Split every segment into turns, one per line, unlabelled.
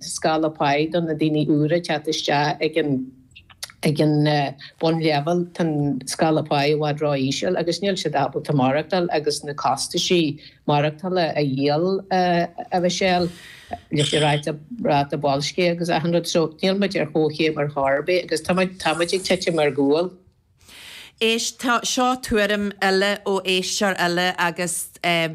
Scála páí do na daoine úra ag teacht isteach ag an ag an bunleibhéal, tá an scála páí i bhfad ró-íseal agus níl siad ábalta maireachtáil agus na costaisí maireachtála a dhíol a Mhichelle leis an ráta ráta boilscithe agus achan rud. So níl muid ar chomhchéim ar chor ar bith agus tá muid tá muid ag titim ar gcúl.
Éist, tá seo tuairim eile ó éisteoir eile agus eh,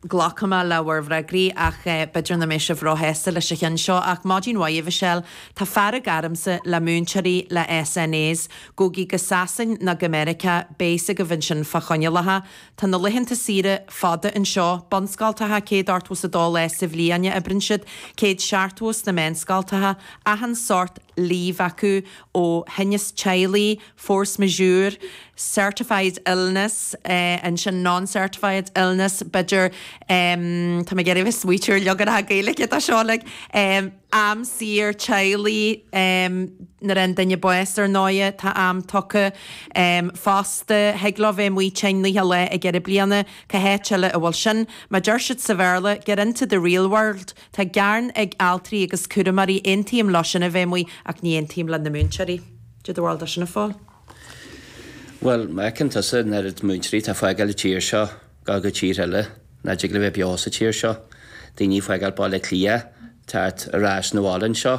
Glacfaidh mé le bhur bhfreagraí ach b'fhéidir nach mbeidh sibh róshásta leis an cheann seo ach maidin mhaith a Mhichelle, tá fearg ormsa le múinteoirí le SNAs. Gabhaigí go Sasain nó go Meiriceá, beidh fhios agaibh ansin fá choinníollacha. Tá na laethanta saoire fada anseo, bunscoltacha 182 lá sa bhliain a oibreann siad, 170 sna meánscoltacha, achan sórt leave acu ó thinneas teaghlaigh, force majeure, certified illness, ansin non-certified illness, b'fhéidir, tá mé ag iarraidh a bheith ag smaoitiú ar leaganacha Gaeilge de seo like, am saor teaghlaigh, nuair a fhaigheann duine bás ar ndóighe, tá am tugtha fosta, thig leo bheith amuigh tinn 90 lá ag deireadh bliana, cá háit eile a bhfuil sin? Mar deir siad sa Bhéarla, get into the real world, tá gearán ag altraí agus cúramóirí, aontaím leo sin a bheith amuigh ach ní aontaím le na múinteoirí. Cad é do bharúil de sin, a Phóil?
Bhuel, má fheiceann tusa an oiread múinteoirí atá ag fágáil an tír seo, gabháil go tír eile, nach dtig leo bheith beo sa tír seo. Daoine ag fágáil Baile Átha Cliath, teacht ar ais 'na bhaile anseo.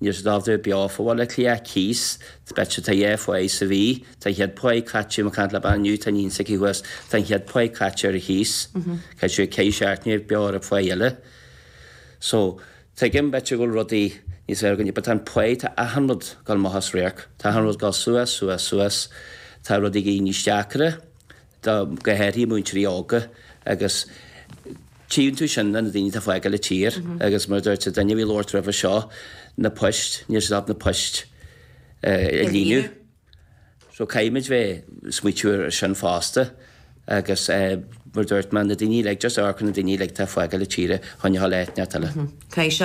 Níl siad ábalta bheith beo fá Bhaile Átha Cliath, cíos, b'fhéidir tá dhá pháigh sa mhí, tá an chéad pháigh caite, mé ag caint le bean inniu, tá iníon s'aici thuas, tá an chéad pháigh caite ar an chíos. Caithfidh sí ceithre seachtaine bheith beo ar an pháigh eile. So. Tuigim, b'fhéidir go bhfuil rudaí níos fearr againne, but tá an pá, tá achan rud ag dul amach as radharc. Tá achan rud ag dul suas, suas, suas. Tá rudaí ag éirí níos deacra do, go háirithe múinteoirí óga agus tchíonn tú sin le na daoine atá ag fágáil an tír agus mar a dúirt an duine a bhí ag labhairt roimhe seo, na poist, níl siad ábalta na poist a líonadh. So caithfimid bheith ag smaoitiú ar sin fosta agus mar a dúirt mé, na daoine uilig, just amharc ar na daoine uilig atá ag fágáil na tíre chun a dhul áit inteacht eile.
Caithfidh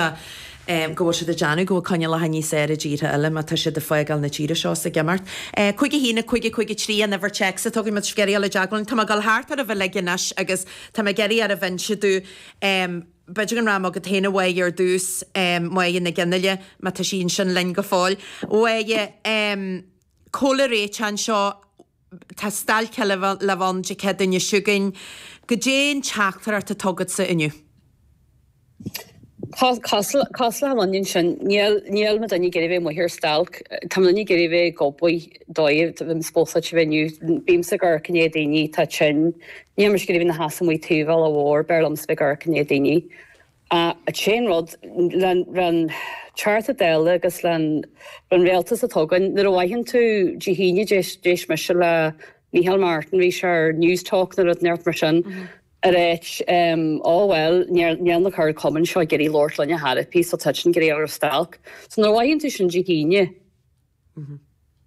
sé go bhfuil siad ag déanamh go bhfuil coinníollacha níos fearr i dtíortha eile má tá siad ag fágáil na tíre seo is ag imeacht. 5 1 5 5 3 an uimhir téacs atá againn má tá sibh ag iarraidh dul i dteagmháil linn. Tá mé ag dul thart oraibh uilig anois agus tá mé ag iarraidh oraibh inse domh b'fhéidir go raibh mé agat féin a Mháire ar dtús, Máire Nic Fhionnghaile, má tá sí ansin linn go fóill. A Mháire, cá bhfuil an réiteach anseo, tá stailc eile le bheith ann Dé Céadaoine seo chugainn. Goidé an teachtaireacht atá agatsa
inniu? Cosúil le an onion sin, níl níl mo duine ag iarraidh bheith amuigh ar stailc. Tá mo duine ag iarraidh bheith ag obair dóigh, bhí spósáilte bheith inniu. Bímse ag amharc i ndiaidh daoine atá tinn. Níl mise ag iarraidh bheith ina sheasamh amuigh taobh bhealach mhór, b'fhearr liomsa bheith ag amharc i ndiaidh daoine. An t-aon rud, le'n Teachta Dála agus le'n Rialtas atá againn, nuair a fhaigheann tú Dé hAoine, d'éist mise le Micheál Martin, bhí sé ar Newstalk nó rud inteacht mar sin, ag ráit, Ó bhuel, níl na ceardchumainn seo ag iarraidh labhairt linn ar chor ar bith so táid ag iarraidh dul ar stailc. So nuair a fhaigheann tú sin Dé hAoine,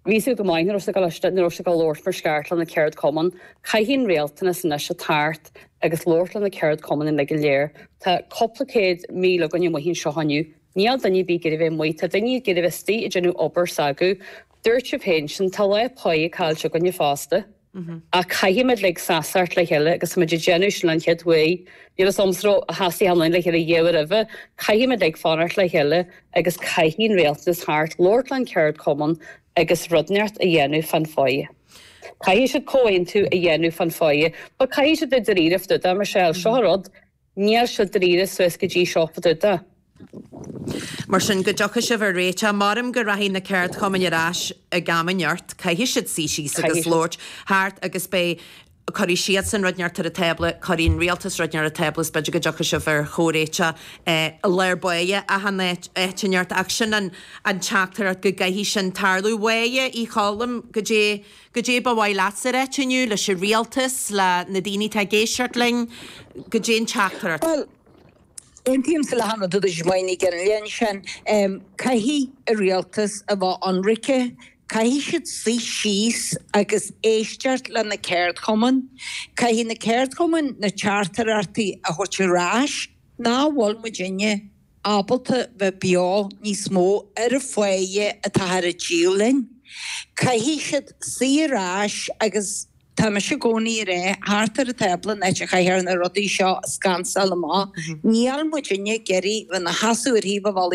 bhí a fhios agat go maith nach raibh siad ag dul nach raibh siad ag dul labhairt mar is ceart le na ceardchumainn. Caithfidh an rialtanas anois a teacht agus labhairt le na ceardchumainn uilig go léir. Tá cúpla 100,000 againn amuigh anseo inniu. Níl duine ar bith ag iarraidh bheith amuigh. Tá daoine ag iarraidh bheith istigh ag déanamh obair s'acu. Dúirt sibh féin sin, tá lá páighe caillte againne fosta. Ach caithfimid uilig seasamh le chéile agus táimid ag déanamh sin an chéad uair. Níl a fhios a'msa an raibh sheasaigh ann le chéile riamh roimhe. Caithfimid uilig fanacht le chéile agus caithfidh an rialtas theacht, labhairt le'n ceardchumann agus rud inteacht a dhéanamh fán pháighe. Caithfidh siad comhaontú a dhéanamh fán pháighe. But caithfidh siad bheith dáiríre fá dtaobh de, Michelle. Seo an rud. Níl siad dáiríre suas go dtí seo fá dtaobh de.
Mar sin, go dtiocfaidh sibh ar réiteach. Maram go rachaidh na ceardchumainn ar ais ag am inteacht. Caithfidh siad suí síos agus labhairt thart agus beidh, cuirfidh siadsan rud inteacht ar an tábla, cuirfidh an rialtas rud inteacht ar an tábla is b'fhéidir go dtiocfaidh sibh ar chomhréiteach i lár báire achan áit inteacht. Ach sin an teachtaireacht go gcaithfidh sin tarlú. Máire Uí Choilm, goidé Goidé ba mhaith leatsa a ráit inniu leis an rialtas, le na daoine atá ag éisteacht linn? Goidé an teachtaireacht?
Bhuel, aontaímse le hachan rud a dúirt Máire Ní Fhionnghaile ansin. Caithfidh an rialtas a bheith ionraice, caithfidh siad suí síos agus éisteacht le na ceardchumainn. Caithfidh na ceardchumainn na teachtaireachtaí a thabhairt ar ais nach bhfuil muidinne ábalta bheith beo níos mó ar an pháighe atáthar ag díol linn. Caithfidh siad suí ar ais agus. Tá mise i gcónaí ag rá, thart ar an tábla an áit a chaithfear na rudaí seo a scansáil amach. Níl muidinne ag iarraidh bheith 'na sheasamh ar thaobh an bhealaigh.